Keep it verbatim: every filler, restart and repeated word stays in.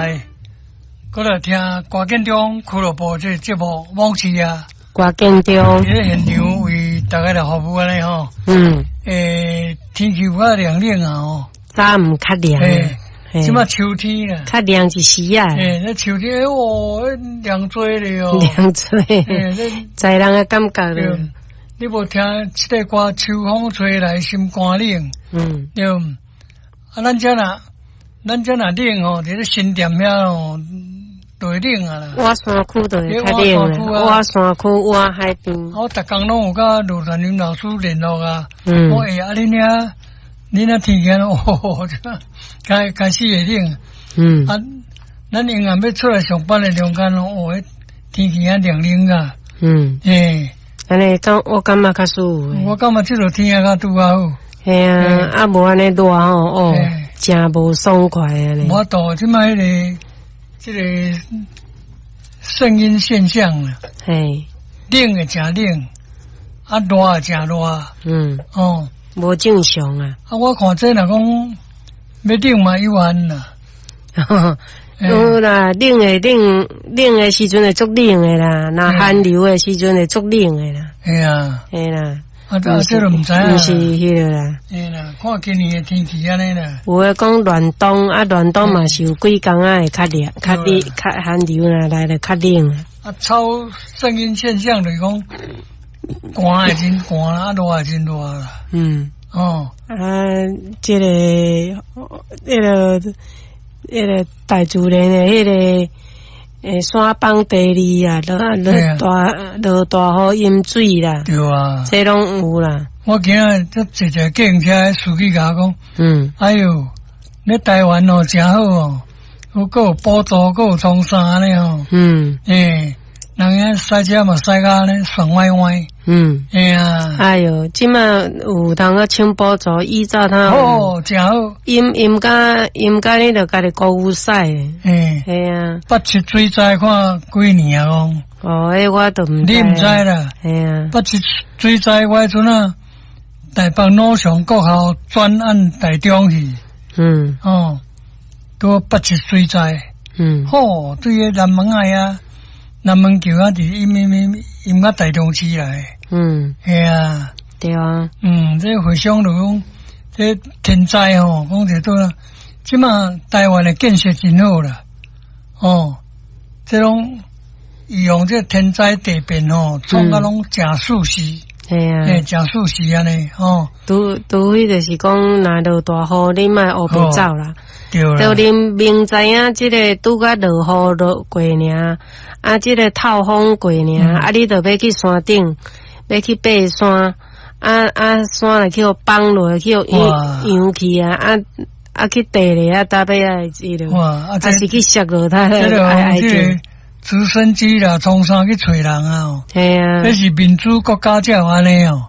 來，閣來聽歌建中俱樂部這個節目《往事》啊。歌建中。佇咧現場為大家來服務按呢吼。嗯。欸，天氣有較涼冷啊吼。早毋較涼。這馬秋天啦。較涼一時啊。欸，那秋天，哦，涼濟咧哦。涼濟。在人的感覺咧。你無聽這個歌，秋風吹來心肝冷。嗯。對。啊，咱遮若，咱遮若冷吼，佇咧新店遐吼，就會冷啊啦。倚山區就會較冷啦，倚山區倚海邊。我逐工攏有佮盧傳林老師聯絡啊。嗯。我欸，啊，恁遐，恁遐天氣哦，開開始會冷。嗯。啊，咱永遠欲出來上班的中間哦，彼天氣遐涼冷啊。嗯。欸。按呢講，我感覺較舒服。我感覺這個天氣較拄好。嘿啊，啊無按呢熱吼，哦，誠無爽快按呢。無度，這擺彼個，這個聖嬰現象啦。嘿。冷會誠冷，啊熱會誠熱。嗯。哦。無正常啊。啊，我看這若講欲冷嘛有限啦。有啦，冷會冷，冷的時陣會足冷的啦，若寒流的時陣會足冷的啦。嘿啊。嘿啦。啊，這這都毋知影。毋是彼个啦。嘿啦，看今年的天氣按呢啦。有的講暖冬，啊暖冬嘛是有幾工仔會較熱、較熱、較寒流啦，來得較冷。啊，超聖嬰現象就是講，寒會真寒，啊熱會真熱啦。嗯。哦。啊，這个，彼个，彼个大自然的彼个，欸，山崩地裂啊，落落大落大雨淹水啦。對啊。這攏有啦。我今仔這坐一個計程車，司機共我講，嗯，哎喲，你台灣哦誠好哦，閣有補助，閣有創啥呢吼。嗯。欸，人遐駛車嘛駛甲按呢爽歪歪。嗯。嘿啊。哎喲，這馬有通閣請補助，以早他哦，誠好。淹淹甲淹甲你著家己孤牛駛。嘿。嘿啊。八七水災看幾年啊？講。哦，彼我都毋知。你毋知啦？嘿啊。八七水災我彼陣啊，台北魯翔國校轉按台中去。嗯。哦，拄八七水災。嗯。吼，對彼南門仔啊，南門橋啊，佇淹淹淹淹甲台中市來。嗯。嘿啊。對啊。嗯，這回想就講，這天災吼，講者對啦。這馬台灣的建設真好啦。哦，這攏利用這天災地變吼，創甲攏誠舒適。嘿啊。欸，誠舒適按呢，吼。除除非就是講，若落大雨，你莫烏白走啦。對啦。就恁明知影這个拄才落雨落過爾，啊，這个透風過爾，啊，你著欲去山頂，欲去爬山，啊啊，山若去予崩落，去予揚揚去啊，啊啊去地咧啊，搭尾仔會這个，啊是去摔落，他愛愛這直升機啦，衝山去揣人啊！嘿啊，這是民主國家才有按呢哦。